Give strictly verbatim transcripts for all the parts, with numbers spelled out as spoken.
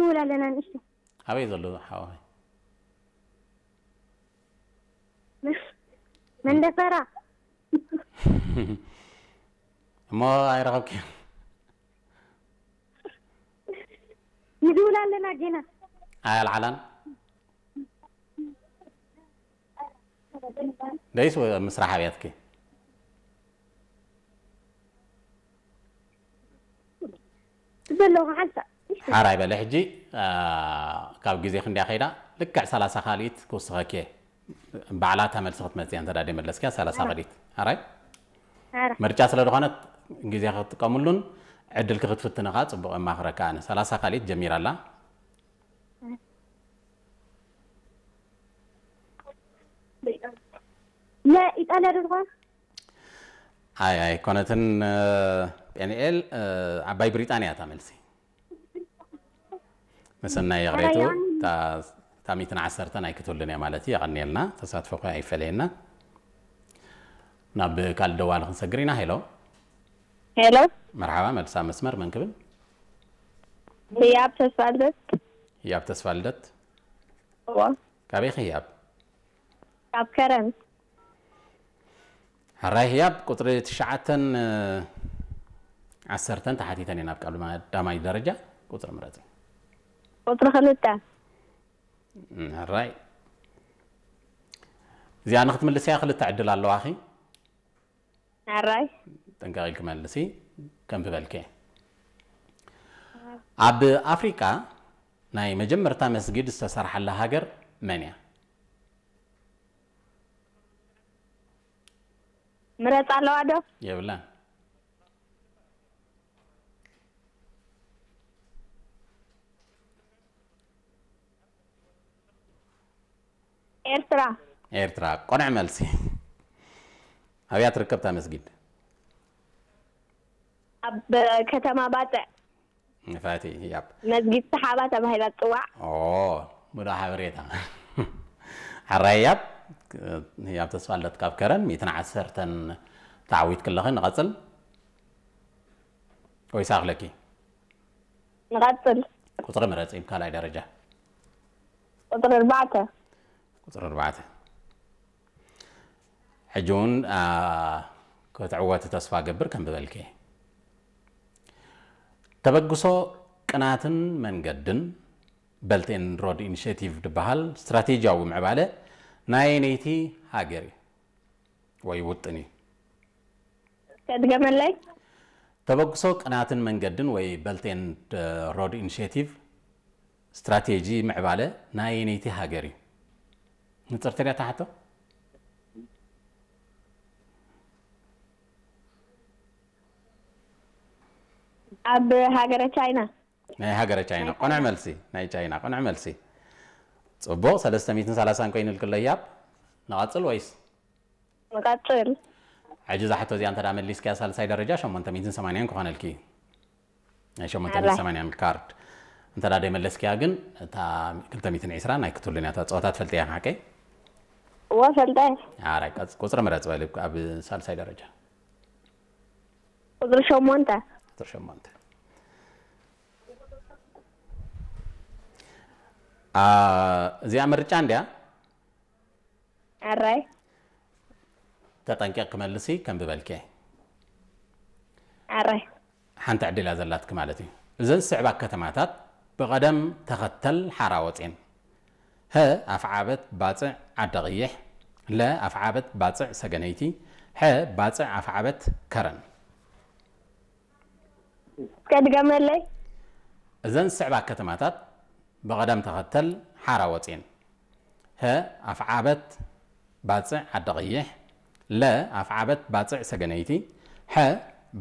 ንውል ኣለና ንእሽቶ። ኣበይ ዘሎ ሓወይ? መንደፈራ። እሞ ኣይረኸብክዮን? ንድውል ኣለና ጌና። ኣይ ኣልዓላን? ደይስ ወ-፣ ምስራሕ ኣብያትኪ? ዘለኹ ሓንሳእ። ሓራይ በለ ሕጂ፣ አ፣ ካብ ግዜ ክንድያ ከይዳ፣ ልክዕ ሰላሳ ካልኢት ክውስኸኪ። ባዕላታ መልሲ ክትመጽእ እንተ ዳዴ መለስኪያ፣ ሰላሳ ኣረ። ካልኢት። ሓራይ? ኣረ። ምርጫ ስለ ዝኾነት፣ ግዜ ክትጥቀምሉን ዕድልኪ ክትፍትኒ ከኣ ጽቡቕ የማኽረካ ኣነ። ሰላሳ ካልኢት ጀሚራ ኣላ። የኢጣልያ ዶ ትኾን? ኣይ፣ ኣይኮነትን፣ እ፣ ጴንኤል፣ እ፣ ዓባይ ብሪጣንያ እታ መልሲ። መሰናይ የቕሬቱ፣ ኣረ፣ ያኒ። እታ፣ እታ ሚእትን ዓሰርተን ኣይክትውልን እያ ማለት እዩ። የቐንየልና፣ ተሳትፎ እኳ ኣይፈለየና። ናብ ካልእ ደዋሊ ክንሰግር ኢና። ሄሎ። ሄሎ። መርሓባ፣ መልሳ መስመር መን ክብል? ህያብ ተስፋልደት። ህያብ ተስፋልደት። እዋ። ካበይ ኢኺ ህያብ? ካብ ከረን። ሕራይ ህያብ፣ ቁጽሪ ትሽዓተን ዓሰርተን ተሓቲተን እየን ኣብ ቀዳማይ ደረጃ። ቁጽሪ ምረጺ። ቁጽሪ ክልተ። እም፣ ሕራይ። እዚኣ ንክትምልስያ ክልተ ዕድል ኣለዋኺ። ሕራይ። ጥንቃቕ ኢልኪ መልሲ፣ ከም ዝበልኪ። ኣብ ኣፍሪቃ ናይ መጀመርታ መስጊድ ዝተሰርሓላ ሃገር መን እያ? ምረጻ ኣለዋ ዶ? የብላን። ኤርትራ። ኤርትራ። ቆንዕ መልሲ። ኣብያ ትርከብ እታ መስጊድ? ኣብ ከተማ ባጽዕ። ንፋቲ ህያብ። መስጊድ ሰሓባ ተባሂላ ትጽዋዕ። ኦ፣ ሙዳ ሓበሬታ። ሕራይ ህያብ፣ ህያብ ተስፋልደት ካብ ከረን፣ ሚእትን ዓሰርተን ተዓዊትኪ ኣለኺ። ንቐጽል ወይስ ኣኽለኪ? ንቐጽል። ቁጽሪ ምረጺ፣ እብ ካልኣይ ደረጃ። ቁጽሪ ኣርባዕተ። ቁጽሪ ኣርባዕተ። ሕጂ እውን፣ አ፣ ክትዕወቲ ተስፋ እገብር ከም ዝበልኪ። ተበግሶ ቅናትን መንገድን፣ Belt and Road Initiative፣ ድበሃል ስትራቴጂያዊ ምዕባለ ናየነይቲ ሃገር እዩ ወይ ውጥን እዩ? እስከ ድገመለይ። ተበግሶ ቅናትን መንገድን ወይ Belt and Road Initiative ስትራቴጂ ምዕባለ ናየነይቲ ሃገር እዩ? ንጽርቲ ድያ እታ ሕቶ? ኣብ ሃገረ ቻይና። ናይ ሃገረ ቻይና። ናይ ቆንዕ ቻይና። መልሲ። ናይ ቻይና። ቆንዕ መልሲ። ጽቡቕ፣ ሰለስተ ሚእትን ሰላሳን ኮይኑልኪ ኣሎ ህያብ። ንቐጽል ወይስ? ንቀጽል። ሕጂ እዛ ሕቶ እዚኣ እንተ ደኣ መሊስኪያ ሳልሳይ ደረጃ ሸሞንተ ሚእትን ሰማንያን ክኾነልኪ እዩ። ናይ ሸሞንተ ሚእትን ሰማንያን ካርድ። እንተ ደኣ ደይመለስኪያ ግን እታ ክልተ ሚእትን ዕስራ ናይ ክትውልን እያ። እታ ጸወታ ትፈልጥያ ሓቀይ? እወ፣ ፈልጠ። ኣራይ፣ ቀጽ-፣ ቁጽሪ ምረጽ በሊ ኣብ ሳልሳይ ደረጃ። ቁጽሪ ሸሞንተ። ቁጽሪ ሸሞንተ። አ፣ እዚኣ ምርጫ እንድያ? ኣራይ። ተጠንቂቕኪ መልሲ ከም ዝበልኪ። ኣራይ። ሓንቲ ዕድል እያ ዘላትኪ ማለት እዩ። እዘን ዝስዕባ ከተማታት ብቐደም ተኸተል ሓራ ወጼን። ሀ፣ ኣፍዓበት ባጽዕ ዓዲ ቕይሕ። ለ፣ ኣፍዓበት ባጽዕ ሰገነይቲ። ሐ፣ ባጽዕ ኣፍዓበት ከረን። እስከ ድገመለይ። እዘን ዝስዕባ ከተማታት ብቐደም ተኸተል ሓራ ወጼን። ሀ፣ ኣፍዓበት ባጽዕ ዓዲ ቐይሕ። ለ፣ ኣፍዓበት ባጽዕ ሰገነይቲ። ሐ፣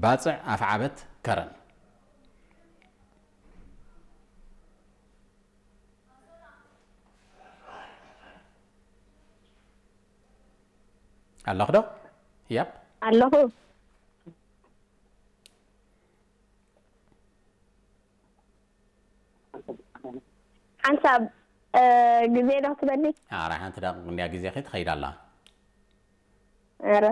ባጽዕ ኣፍዓበት ከረን። ኣለኹ ዶ? ህያብ? ኣለኹ። ሓንሳብ፣ እ፣ ግዜ ዶ ክትበኒ? ኣረ፣ ሓንቲ ደቂቕ እንድያ ግዜኺ ትኸይድ ኣላ። ኣረ።